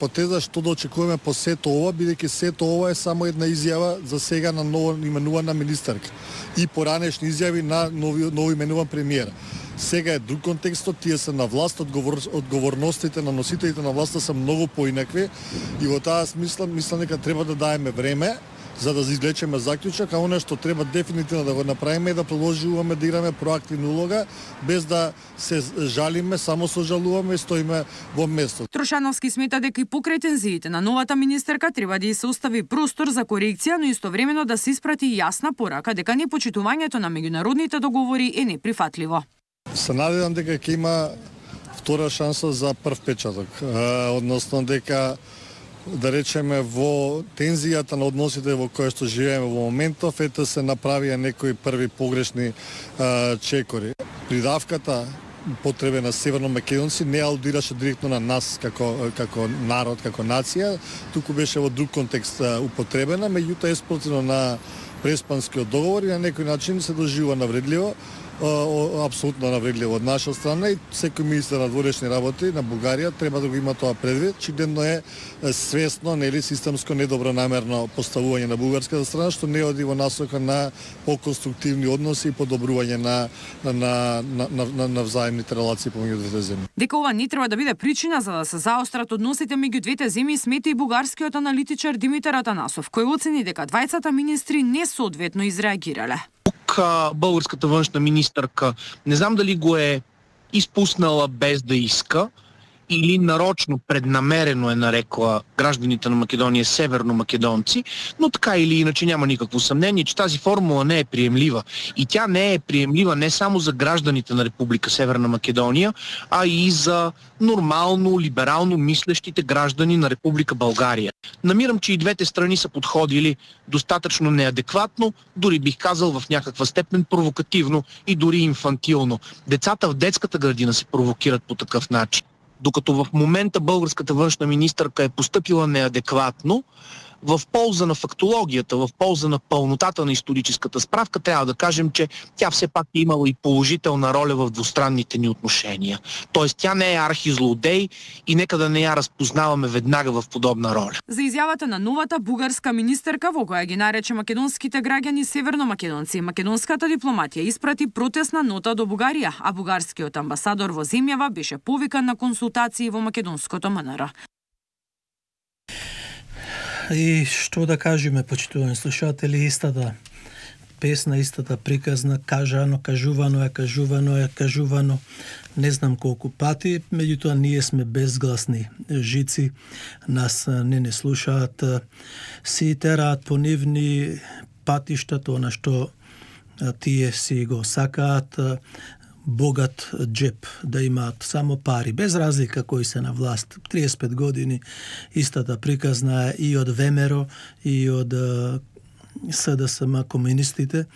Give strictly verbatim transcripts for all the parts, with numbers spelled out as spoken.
Потеза што да очекуваме по сето ова, бидејќи сето ова е само една изјава за сега на ново именувана министерка и поранешни изјави на нови нови именуван премиер. Сега е друг контекстот, тие се на власт, одговор, одговорностите на носителите на власта се многу поинакви и во таа смисла мислам дека треба да даеме време за да извлечеме заклучок, а оно што треба дефинитивно да го направиме е да продолжуваме да играме проактивна улога, без да се жалиме, само сожалуваме и стоиме во место. Трошановски смета дека и покрај тензиите на новата министерка треба да се остави простор за корекција, но истовремено да се испрати јасна порака дека непочитувањето на меѓународните договори е неприфатливо. Се надевам дека ќе има втора шанса за прв печаток, односно дека да речеме во тензијата на односите во кои што живееме во моментов, ете се направија некои први погрешни а, чекори. Придавката потреба на северномакедонци не алудираше директно на нас како како народ, како нација, туку беше во друг контекст а, употребена, меѓутоа еспротивно на Преспанскиот договор и на некој начин се доживува навредливо. Апсолутно навредливо од наша страна и секој министер на дворешни работи на Бугарија треба да го има тоа предвид. Очигледно е свесно, нели системско недобронамерно поставување на бугарската страна што не оди во насока на поконструктивни односи и подобрување на на на на, на, на взаимните релации помеѓу двете земји. Дека ова не треба да биде причина за да се заострат односите меѓу двете земји, смета и бугарскиот аналитичар Димитар Атанасов, кој оцени дека двајцата министри несоодветно изреагирале. Българската външна министърка, не знам дали го е изпуснала без да иска или нарочно, преднамерено е нарекла гражданите на Македония северномакедонци, но така или иначе няма никакво съмнение, че тази формула не е приемлива. И тя не е приемлива не само за гражданите на Република Северна Македония, а и за нормално, либерално мислещите граждани на Република България. Намирам, че и двете страни са подходили достатъчно неадекватно, дори бих казал в някаква степен провокативно и дори инфантилно. Децата в детската градина се провокират по такъв начин. Докато в момента българската външна министърка е постъпила неадекватно, в полза на фактологията, в полза на пълнотата на историческата справка, трябва да кажем, че тя все пак е имала и положителна роля в двустранните ни отношения. Тоест тя не е архизлодей и нека да не я разпознаваме веднага в подобна роля. За изјавата на новата бугарска министерка, во која ги нарече македонските граѓани северномакедонци, македонската дипломатија испрати протестна нота до Бугарија, а бугарскиот амбасадор во земјава беше повикан на консултации во македонското М Н Р. И што да кажеме, почитувани слушатели, истата песна, истата приказна, кажано, кажувано е, кажувано е, кажувано, не знам колку пати, меѓутоа ние сме безгласни жици, нас не не слушаат, си тераат по нивни патишта, тоа што тие си го сакаат, богат джеп, да имаат само пари, без разлика кои се на власт. триесет и пет години истата приказна е и од ВМРО, и од С Д С М комунистите.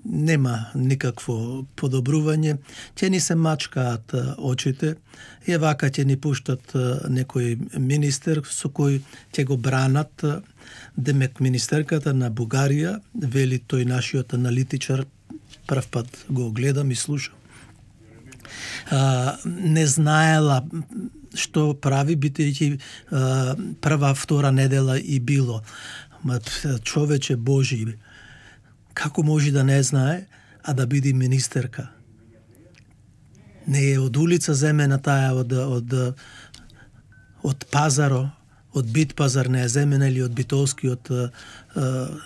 Нема никакво подобрување. Ќе ни се мачкаат очите и вака ќе ни пуштат некој министер со кој ќе го бранат. Демек министерката на Бугарија, вели тој нашиот аналитичар, прв пат го гледам и слушам, а, не знаела што прави, бидејќи прва, втора недела и било. Ма човече Божи, како може да не знае, а да биде министерка? Не е од улица земена таа, од, од, од пазаро, од бит пазар не е земена или од битолскиот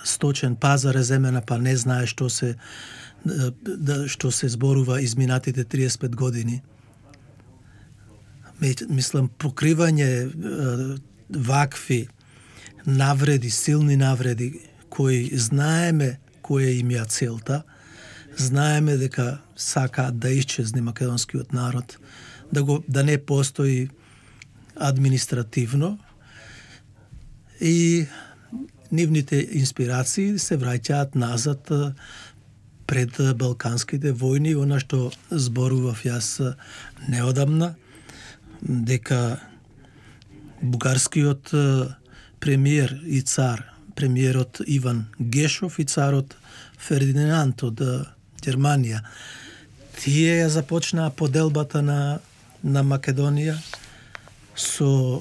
сточен пазар е земена, па не знае што се да што се зборува изминатите триесет и пет години. Мислам, покривање вакви навреди, силни навреди, кои знаеме која им ја целта, знаеме дека сакаат да исчезне македонскиот народ, да го да не постои административно и нивните инспирации се враќаат назад пред балканските војни, она што зборував јас неодамна, дека бугарскиот премиер и цар, премиерот Иван Гешов и царот Фердинанд од Германија, тие ја започнаа поделбата на, на Македонија со